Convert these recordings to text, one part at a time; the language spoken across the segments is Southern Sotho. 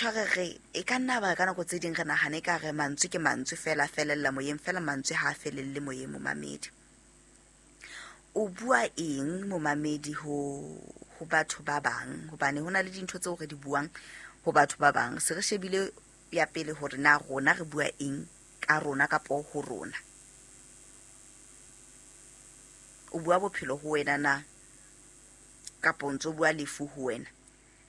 tjho re re e ka nna ba ka nako tse ding re nahane ka re mantswe ke mantswe fela felella moyeng fela, mantswe ha a felelle moyeng. Momamedi, o bua eng momamedi ho batho ba bang? Hobane ho na le dintho tseo re di buang ho batho ba bang, se re shebile ya pele hore na rona re bua eng ka rona kapo ho rona. O bua bophelo ho wena na, kapo o ntso bua lefu ho wena?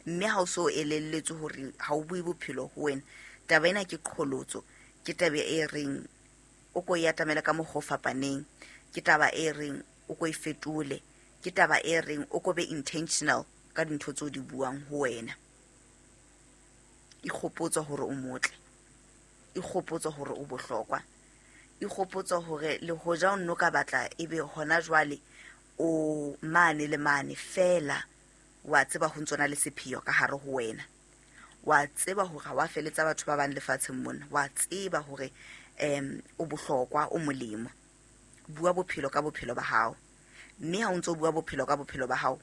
Mme ha o so elelletswe hore ha o bue bophelo ho wena, taba ena ke qholotso, ke taba e reng o ko e atamele ka mokgwa o fapaneng, ke taba e reng o ko e fetole, ke taba e reng o ko be intentional ka dintho tseo di buang ho wena. Ikgopotse hore o motle, ikgopotse hore o bohlokwa, ikgopotse hore le hoja o nno ka batla ebe hona jwale o mane le mane fela, wa tseba ho ntsona le sepheo ka hare ho wena, wa tseba hore ha wa feletsa batho ba bang lefatsheng mona, wa tseba hore o bohlokwa, o molemo. Bua bophelo ka bophelo ba hao, mme ha o ntso bua bophelo ka bophelo ba hao,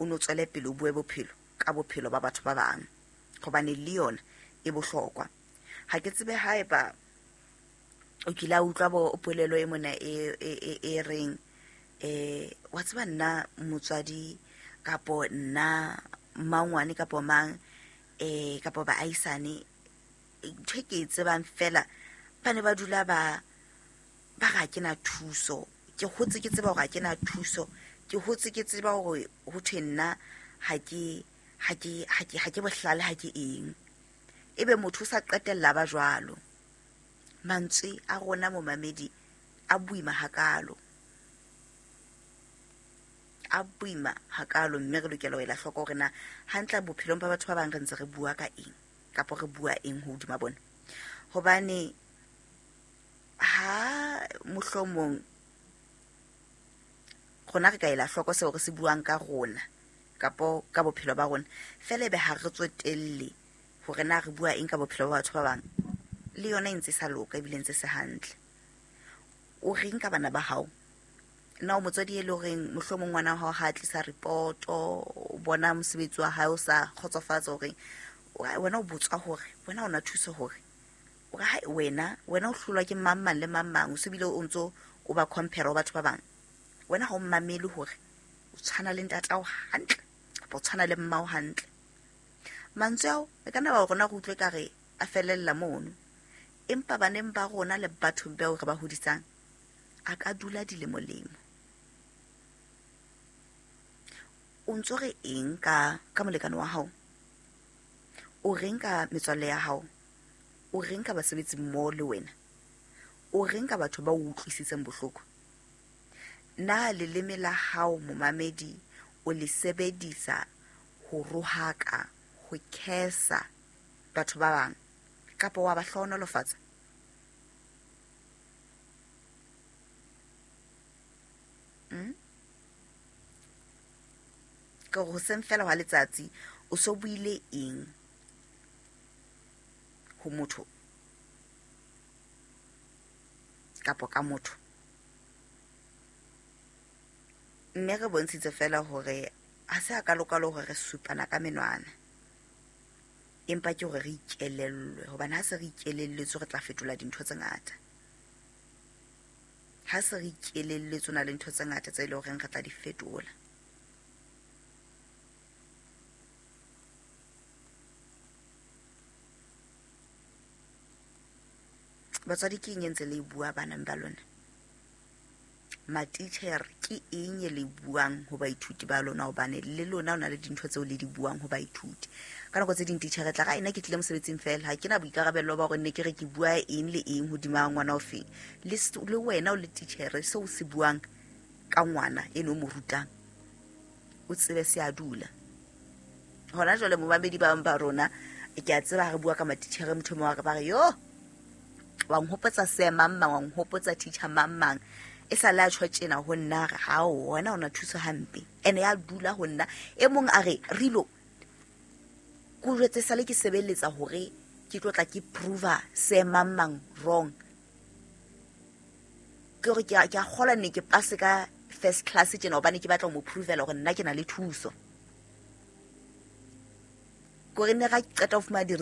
o no tswele pele o bue bophelo ka bophelo ba batho ba bang, hobane le yona e bohlokwa. Ha ke tsebe haeba o kile a utlwa bo polelo e mona e reng, wa tseba nna motswadi kapo nna mmangwane kapo mang, kapo baahisane, ntho e ke e tsebang fela, ba ne ba dula ba re ha ke na thuso. Ke hotse ke tseba hore ha ke na thuso, ke hotse ke tseba hore ho thwe nna ha ke bohlale, ha ke eng. Ebe motho o sa qetella ba jwalo. Mantswe a rona momamedi a boima hakalo, a boima hakalo, mme re lokela ho ela hloko hore na hantle bophelong ba batho ba bang re ntse re bua ka eng, kapo re bua eng hodima bona. Hobane ha mohlomong rona re ka ela hloko seo re se buang ka rona kapo ka bophelo ba rona, fela ebe ha re tsotelle hore na re bua eng ka bophelo ba batho ba bang, le yona e ntse sa loka ebile ntse se hantle. O reng ka bana ba hao? Na o motswadi e le horeng mohlomong ngwana wa hao ha a tlisa ripoto, o bona mosebetsi wa hae o sa kgotsofatsa, hore wena o botswa hore wena o na thuso, hore o re hai wena o hlolwa ke mang mang le mang mang, o se bile o ntso o ba compare ho batho ba bang. Wena ha o mmamele hore o tshwana le ntatao hantle kapa o tshwana le mmao hantle. Mantswe ao e ka nna ba rona re utlwe ka re a felella mono, empa baneng ba rona le bathong bao re ba hodisang a ka dula dilemo-lemo. O ntso re eng ka molekane wa hao? O reng ka metswalle ya hao? O reng ka basebetsi mmoho le wena? O reng ka batho ba o utlwisitseng bohloko? Na leleme la hao momamedi o le sebedisa ho rohaka, ho khesa batho ba bang, kapa wa ba hlohonolofatsa? Ke hore hoseng fela hwa letsatsi o so buile eng ho motho kapo ka motho? Mme re bontshitse fela hore ha se a kalokalo hore re supana ka menwana, empa ke hore re ikelellwe, hobane ha se re ikelelletswe re tla fetola dintho tse ngata. Ha se re ikelelletswe na le ntho tse ngata tse leng horeng re tla di fetola. Batswadi, ke eng e ntse le e bua baneng ba lona? Matitjhere, ke eng e le buang ho baithuti ba lona? Hobane le lona o na le dintho tseo le di buang ho baithuti. Ka nako tse ding titjhere tla re, ena ke tlile mosebetsing fela, ha ke na boikarabello ba hore ne ke re ke bua eng le eng hodima ngwana o feng. Le wena o le titjhere, seo o se buang ka ngwana eno o mo rutang, o tsebe se a dula. Hona jwale momamedi ba bang ba rona, ke a tseba ha re bua ka matitjhere, motho mong wa re ba re, yo, wa nhopotsa se mang mang, wa nhopotsa teacher mang mang, e sa le a tjho tjena ho nna, re hao wena o na thuso hampe, ene ya dula ho nna. E mong a re, Rilo, ko jwetse sale ke sebeletsa hore ke tlo tla ke prova se mang mang wrong. Ke hore ke a kgolwa ne ke pase ka first class tjena, hobane ke batla ho mo provela hore nna ke na le thuso. Ke hore ne ra qeta ho fumana di